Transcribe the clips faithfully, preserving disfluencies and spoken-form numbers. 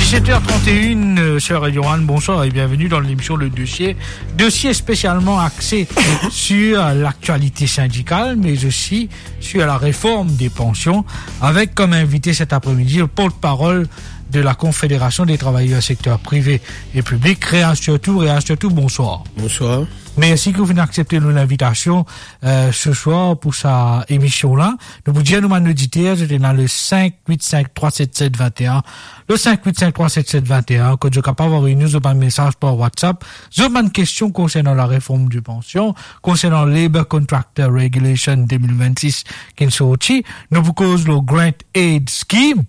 Sept heures trente et une, euh, sur Radio One, bonsoir et bienvenue dans l'émission Le Dossier. Dossier spécialement axé sur l'actualité syndicale, mais aussi sur la réforme des pensions, avec comme invité cet après-midi le porte-parole de la Confédération des travailleurs secteur privé et public, Réa Surtout. Réa Surtout, bonsoir. Bonsoir. Mersi ki ou finn aksepte nou linvitasion, euh, se swar pou sa emision la. Nou pou dir nou bann oditer, zot ena le cinq huit cinq trois sept sept vingt et un, le cinq huit cinq trois sept sept vingt et un, kot zot kapav avoy nou zot bann mesaz par WhatsApp, zot bann kestion konsernan la reform di pansion, konsernan Labour Contractor Regulation deux mille vingt-six ki'nn sorti. Nou pou koz lor Grant Aid Scheme,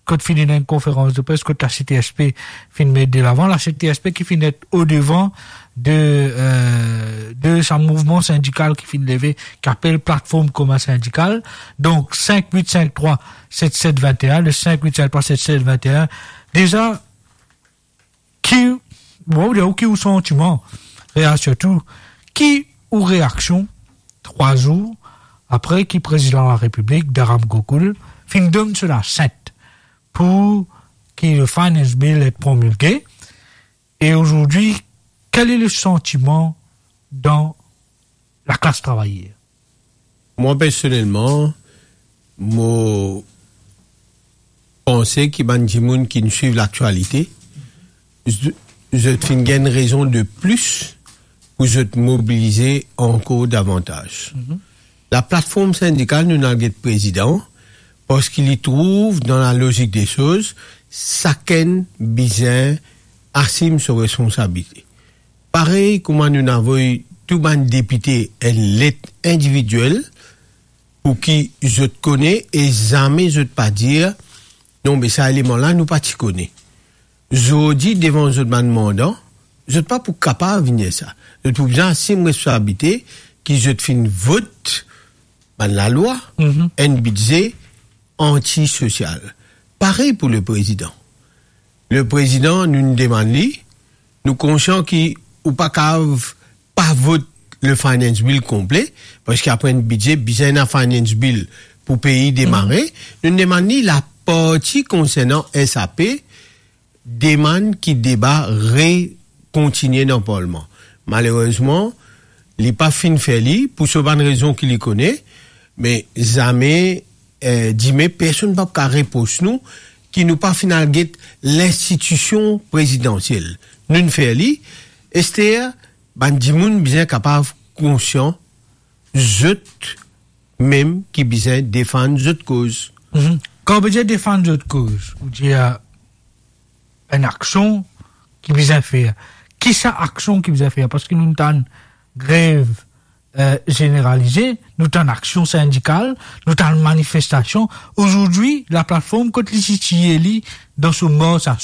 kot finn ena enn konferans de pres, kot la C T S P finn met de lavan, la C T S P ki finn et odevan de, euh, de sa mouvman sindikal ki finn leve, ki apel Platform Komin Sindikal. Donk, cinq huit cinq trois sept sept vingt et un, le cinq huit cinq trois sept sept vingt et un. Deza, ki, bon, ou ki ou santiman, Réa Surtout, ki ou reaksion, trwa zour apre ki Prezidan Larepiblik, Dharam Gokul, finn donn so lasent pou ki le Finance Bill et promulge, e azordi, quel est le sentiment dans la classe travailleur? Mwa, personelman, mo panse ki bann dimoun ki'nn swiv laktialite, z-, zot finn gagn rezon de plis pou zot mobilize ankor davantaz. Mhm. La platform sindikal, nou'nn al get Prezidan, parski li trouv dan la lozik de soz, sakenn bizin asim so responsabilite. Parey kouma nou'nn avoy tou bann depite enn let individiel pou ki zot kone e zame zot pa dir, "Non, me sa eleman la, nou pa ti kone." Zordi, devan zot bann mandan, zot pa pou kapav vinn dir sa. Zot pou bizin asim responsabilite ki zot finn vot bann lalwa, Mhm. enn bidze antisosial. Parey pou le Prezidan. Le Prezidan, nou'nn demann li, nou konsian ki ou pa kapav pa vot le Finance Bill konple, parski apre enn bidze, bizin ena Finance Bill pou pei demare. Mhm. Nou'nn demann li laparti konsernan S A P, demann ki deba rekontinie dan Parlman. Malerezman, li pa finn fer li, pou so bann rezon ki li kone, me zame, eh, dime, personn pa pou kapav repros nou ki nou pa finn al get linstitision prezidansiel. Nou'nn fer li, ester, bann dimoun bizin kapav konsian, zot mem ki bizin defann zot koz. Mhm. Kan ou pe dir defann zot koz, ou dir, euh, enn aksion ki bizin fer. Ki sa aksion ki bizin fer? Parski nou tann grev, euh, zeneralize, nou tann aksion sindikal, nou tann manifestasion. Azordi, la platform kot li sitiye li dan so mars a